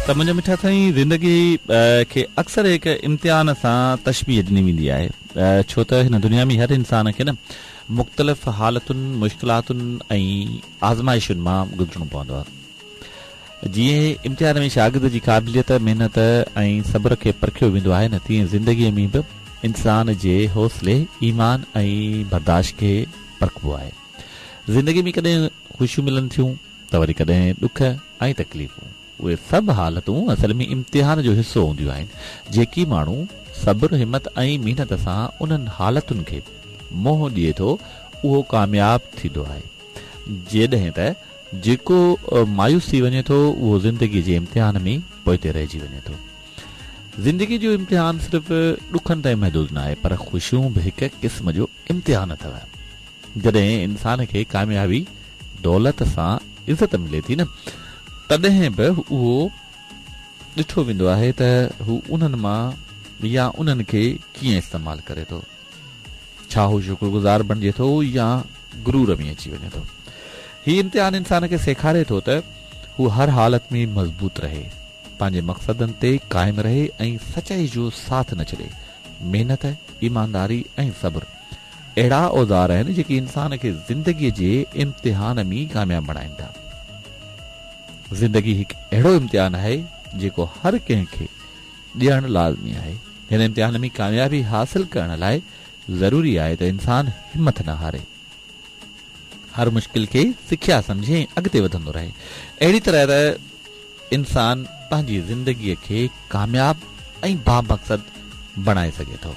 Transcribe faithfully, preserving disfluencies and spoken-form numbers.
ته منهنجا مٺا سائين، زندگي کي اڪثر هڪ امتحان سان تشبيهه ڏني ويندي آهي، ڇو ته هن دنيا ۾ هر انسان کي نه مختلف حالتن، مشڪلاتن ۽ آزمائشن مان گذرڻو پوندو آهي. جيئن امتحان ۾ شاگرد جي قابليت، محنت ۽ صبر کي پرکيو ويندو آهي نه، تيئن زندگيء ۾ به انسان جي حوصلي، ايمان ۽ برداشت کي پرکبو آهي. زندگي ۾ ڪڏهن خوشيون ملن ٿيون ته وري ڪڏهن ڏک ۽ تڪليفون. اهي سڀ حالتون اصل ۾ امتحان جو حصو هونديون آهن. جيڪي ماڻهو صبر، همت ۽ محنت سان انهن حالتن کي منهن ڏئي ٿو، اهو ڪامياب ٿيندو آهي. جڏهن ته جيڪو مايوس ٿي وڃي ٿو، اهو زندگيء جي امتحان ۾ پوئتي رهجي وڃي ٿو. زندگيء جو امتحان صرف ڏکن تائين محدود ناهي، پر خوشيون به هڪ قسم جو امتحان اٿو. جڏهن انسان کي ڪاميابي، دولت سان عزت ملي ٿي نه، تڏهن به اهو ڏٺو ويندو آهي ته هو انهن مان يا انهن کي ڪيئن استعمال ڪري ٿو. ڇا هو شڪرگذار بڻجي ٿو يا غرور ۾ اچي وڃي ٿو. هي امتحان انسان کي سيکاري ٿو ته هو هر حالت ۾ مضبوط رهي، پنهنجي مقصدن تي قائم رهي ۽ سچائي جو ساٿ نه ڇڏي. محنت، ايمانداري ۽ صبر اهڙا اوزار آهن جيڪي انسان کي زندگيء جي امتحان ۾ ڪامياب بڻائين ٿا. زندگي هڪ اهڙو امتحان آهي جيڪو هر ڪنهن کي ڏيڻ لازمي آهي. هن امتحان ۾ ڪاميابي حاصل ڪرڻ لاء ضروري آهي ته انسان همٿ نه هاري، هر مشڪل کي سکيا سمجهي ۽ اڳتي وڌندو رهي. اهڙي طرح ته انسان پنهنجي زندگيء کي ڪامياب ۽ بامقصد بڻائي سگهي ٿو.